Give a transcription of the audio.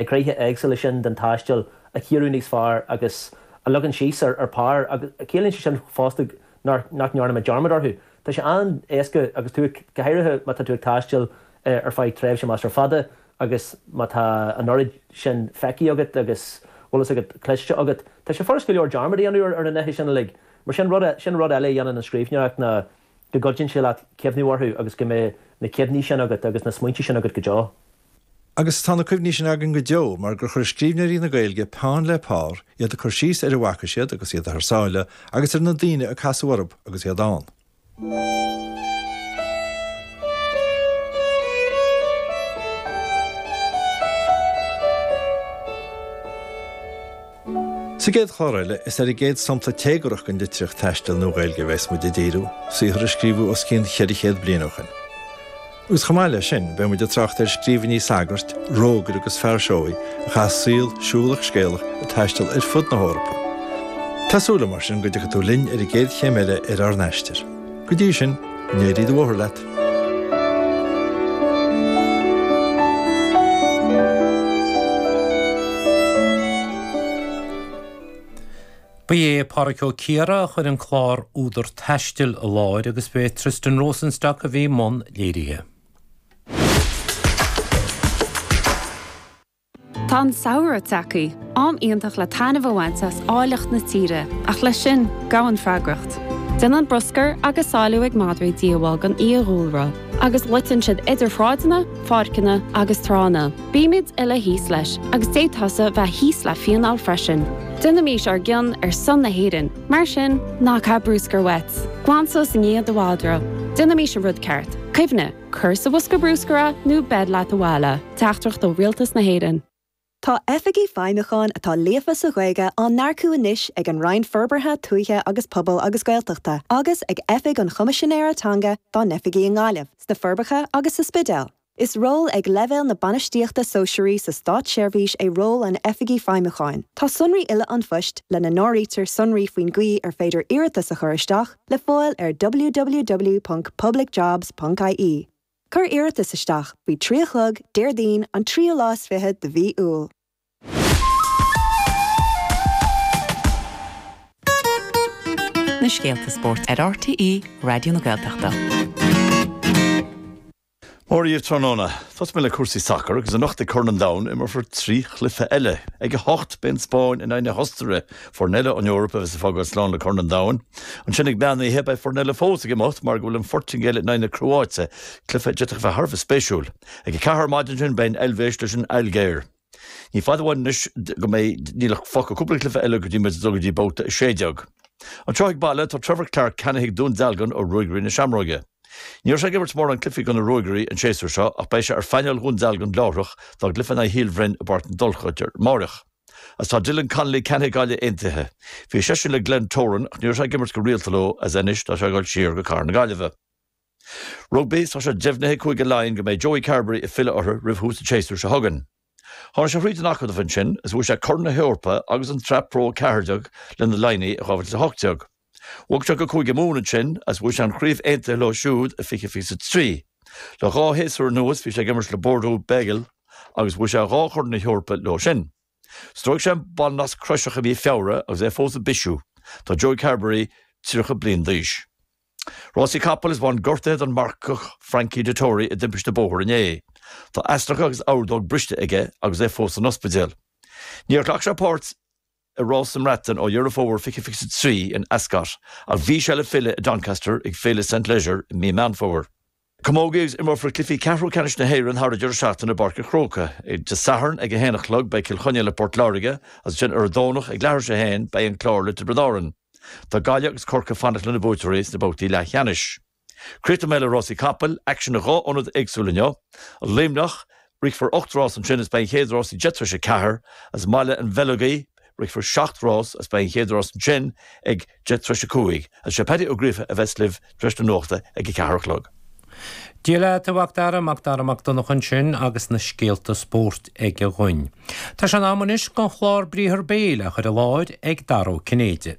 gnéithe éagsúla sin den taisteal a chíoradh níos fearr agus a leagan síos ar pár agus ciallaíonn sé sin fosta nach ndearna muid dearmad orthu. Tá sé an-éasca agus tú, go háirithe má tá tú ag taisteal ar feadh tréimhse measartha fada agus má tá an oiread sin feicthe agat agus bhfuil fhios agat cloiste agat, tá sé furast go leor dearmad a dhéanamh ar na nithe sin uilig. Mar sin, rud, sin rud eile a dhéanann an scríbhneoireacht ná go gcuidíonn sé leat cuimhniú orthu agus go mbeidh na cuimhní sin agat agus na smaointe sin agat go deo. Agus tá na cuimhní sin againn go deo mar gur chuir scríbhneoirí na Gaeilge peann le pár, iad ag cur síos ar a bhfaca siad agus iad thar sáile agus ar na daoine a casadh orthu agus iad ann. Sa gcéad chlár eile, is ar an gcéad sampla téagarthach den litríocht taistil Nua-Ghaeilge a bheas muid ag díriú, saothar a scríobhadh os cionn 400 bliain ó shin. Agus chomh maith leis sin, beidh muid ag trácht ar scríbhinní sagairt, rógaire agus fear seoigh a chaith saol siúlach scéalach ag taisteal ar fud na hEorpa. Tá súil agam mar sin go dtiocfaidh tú linn ar an gcéad chéim eile ar ár n-aistear. Go dtí sin, go n-éirí do bhóthar leat! Ba é Pádraic Ó Ciardha a chuir an clár Údar Taistil i láthair agus ba é Tristan Rosenstock a bhí i mbun léirithe. Tá an samhradh tagtha, am iontach le taitneamh a bhaint as áilleacht na tíre, ach leis sin, gabhann freagracht. Déanann bruscar agus sáiliú ag madraí díobháil don fhiadhúlra, agus loiteann siad idir shráideanna, pháirceanna agus tránna. Bímid uile thíos leis, agus d'fhéadfása bheith thíos le fíneáil freisin. Déanaimís ár gcion ar son na hÉireann, mar sin, ná caith bruscar uait. Glan suas i ndiaidh do mhadra. Déanaimís an rud ceart. Cuimhnigh! Cuir sa bhosca bruscair é nó beir leat abhaile. Teachtaireacht ó Rialtas na hÉireann. Tá Oifigigh Feidhmiúcháin atá líofa sa Ghaeilge á n-earcú anois ag an Roinn Forbartha Tuaithe agus Pobail agus Gaeltachta agus ag Oifig an Choimisinéara Teanga dá n-oifigí i nGaillimh, sna Forbacha agus sa Spidéal. Is ról ag leibhéal na bainistíochta sóisearaí sa státseirbhís é ról an Oifigigh Feidhmiúcháin. Tá sonraí uile an phoist, lena n-áirítear sonraí faoin gcaoi ar féidir iarratas a chur isteach, le fáil ar www.publicjobs.ie. Cuir iarratas isteach faoi 3 a chlog, Déardaoin, an tríú lá is fiche de mhí Iúil. Na scéalta spóirt ar RTÉ Raidió na Gaeltachta. Mora dhaoibh tráthnóna. Tosóidh mé le cúrsaí sacair agus anocht ag Corn an Domhain imreofar 3 chluiche eile. Ag a hocht beidh an Spáinn in aghaidh na hOstaire, foireann eile ón Eoraip a bheas ag fágáil slán le Corn an Domhain. Ansin ag meán oíche beidh foireann eile fós ag imeacht mar go bhfuil an Phortaingéil in aghaidh na Cróáite, cluiche a d'fhéadfadh a bheith thar a bheith spéisiúil. Ag a ceathair ar maidin ansin beidh an Eilvéis leis an Ailgéir. Ní fada uainn anois go mbeidh, níl ach fágtha cúpla cluiche eile go dtí muid ag dul go dtí babhta 16. Anseo ag baile tá Trevor Clarke ceannaithe ag Dún Dealgan ó Ruagairí na Seamróige. Ní raibh sé ag imirt mórán cluichí do na Ruagairí an séasúr seo ach beidh sé ar phainéal Dhún Dealgan láithreach dá gcluiche in aghaidh Shíol Bhroin i bPáirc na dTulcha amáireach. Agus tá Dylan Connolly ceannaithe ag Gaillimh Aontaithe. Bhí seisean le Glentoran ach ní raibh sé ag imirt go rialta leo agus anois tá sé ag dul siar go Cathair na Gaillimhe. Rugbaí, Tá sé deimhnithe ag Cúige Laighean go mbeidh Joey Carbery ag filleadh orthu roimh thús an tséasúir seo chugainn. Tháinig sé thríd an acadamh ansin is bhuaigh sé Corn na hEorpa agus an tSraith Pro 14 le na Laighnigh i 2018. Bhog sé go Cúige Mumhan ansin agus bhuaigh sé an Chraobh Aontaithe leo siúd i 2023. Le dhá shéasúr anuas bhí sé ag imirt le Bordeaux Bègles agus bhuaigh sé dhá Chorn na hEorpa leo sin. Stróic sé an ballnasc croiseach i mí Feabhra agus é fós ag bisiú. Tá Joey Carbery 30 bliain d'aois. Rásaí capall is bhain gortuithe don marcach Frankie Dettori i dtimpiste bóthair inné. Tá easnacha agus ordóg briste aige agus é fós san ospidéal. Níor ghlac sé páirt i rás sa mBreatain ó Dheireadh Fómhair 2023 in Ascot ach bhí sé le filleadh i Doncaster ag Féile St Leger i mí Meán Fómhair. Camógaí agus imreofar cluichí ceathrú ceannais na hÉireann thar an deireadh seachtaine i bPáirc an Chrócaigh. Dé Sathairn ag a haon a chlog beidh Cill Chainnigh le Port Láirge agus ansin ar an Domhnach ag leathuair tar éis a haon beidh an Clár le Tiobraid Árann. Tá Gaillimh agus Corcaigh ag fanacht lena buaiteoirí sna babhtaí leathcheannais. Críochnóidh mé le rásaí capaill, aicsean i dhá ionad éagsúil inniu. Luimneach, Rithfear 8 rás ansin is beidh an chéad rás ag 10 tar éis 4, agus i mBaile an Bheilg, rithfear 7 rás agus beidh an chéad rás ansin ag 10 tar éis 5. Agus sé Paddy Ó Gríofa a bheas libh tar éis na nuachta ag a ceathair a chlog. Dia leat, a Mhac Dara, Mac Dara Mac Donncha ansin agus na scéalta spóirt aige dhúinn. Tá sé in am anois don chlár Briathar Béil á chur i láthair ag Dara Ó Cinnéide.